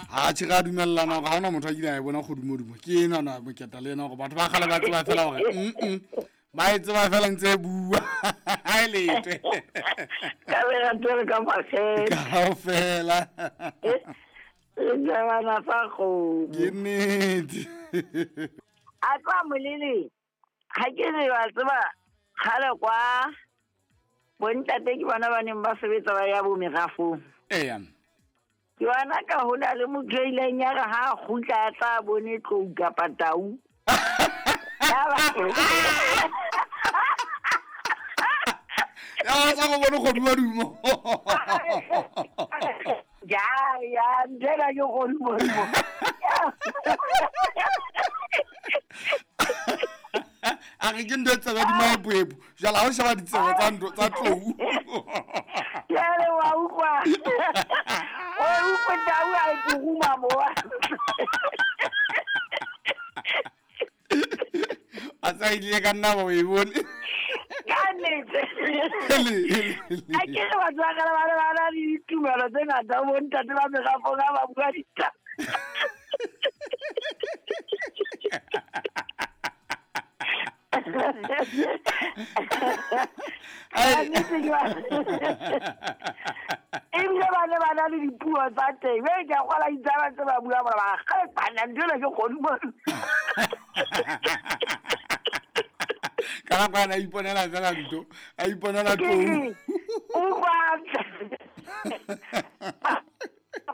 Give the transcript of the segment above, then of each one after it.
A tšhe ga dumelelana gore ga ona motho a kile a e bona kgodumodumo ke enana moketa le ena gore batho ba kgale ba tseba fela gore mm ba e tseba fela ntse e bua ga e letwe ka legatele ka makgethe kaofela. Re jabana fa kgomo. Ke nnete. A tloa molele ga ke re wa tseba kgale kwa bontate ke bona ba neng ba sebetsa ba ya bo merafong. Eya. Ke bona ka ho na le motho a ileng ya re ha a kgutla a tla bone tlou kapa tau. Ya sa go bone kgodumodumo. Ya ya nthena ke kgodumodumo. A re ke ntho e tsebe di maeboebo jala ga o sheba ditsebe tsa ntho tsa tlou. Jale wa utlwa. O utlwe tau a e puruma mo. A sa ile ka nna ba o e bone. Ka nnete. A ke re batho ba kgale ba ne ba na le ditumelo tse ngata bo ntate ba merafong ha ba bua ditaba. Ebile ba ne ba na le dipuo tsa teng e ke a gola ditsala tse ba bua gore ba gale bana ntho ena ke kgodumo. Ka nako ana a iponela fela ntho a iponela tlou. Utlwa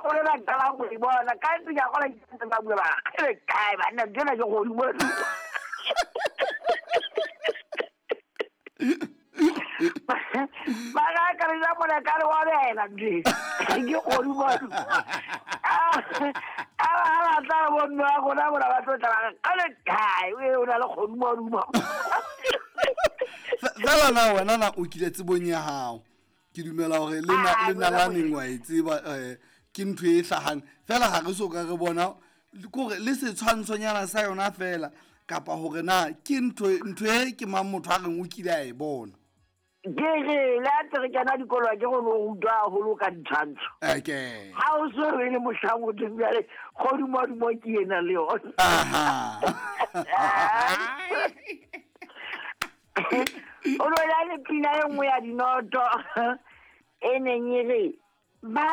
gore ba qala go e bona ka ntse ke a gola ntse ba bua ba gale kae banna ntho ena ke kgodumo. Ba ga ka re ja mona ka re wa bela ntho e ke kgodumo. A ba tla bo mme wa rona mona ba tlo tla ba re gale kae o na le kgodumodumo. Fela na wena na o kile tsebong ya gago ke dumela gore le nalaneng wa e tseba ke ntho e hlahang fela ga re so ka re bona kore le setshwantshonyana sa yona fela kapa gore na ke ntho e ke mang motho a reng o kile a e bona. Ke re le a ntse re kena dikolo ke go no rutwa haholo ka ditshwantsho. Okay. Ha o so re le mohlang o teng jwale kgodumodumo ke ena le yona. Aha. O no na le pina e nngwe ya dinoto e neng e re ba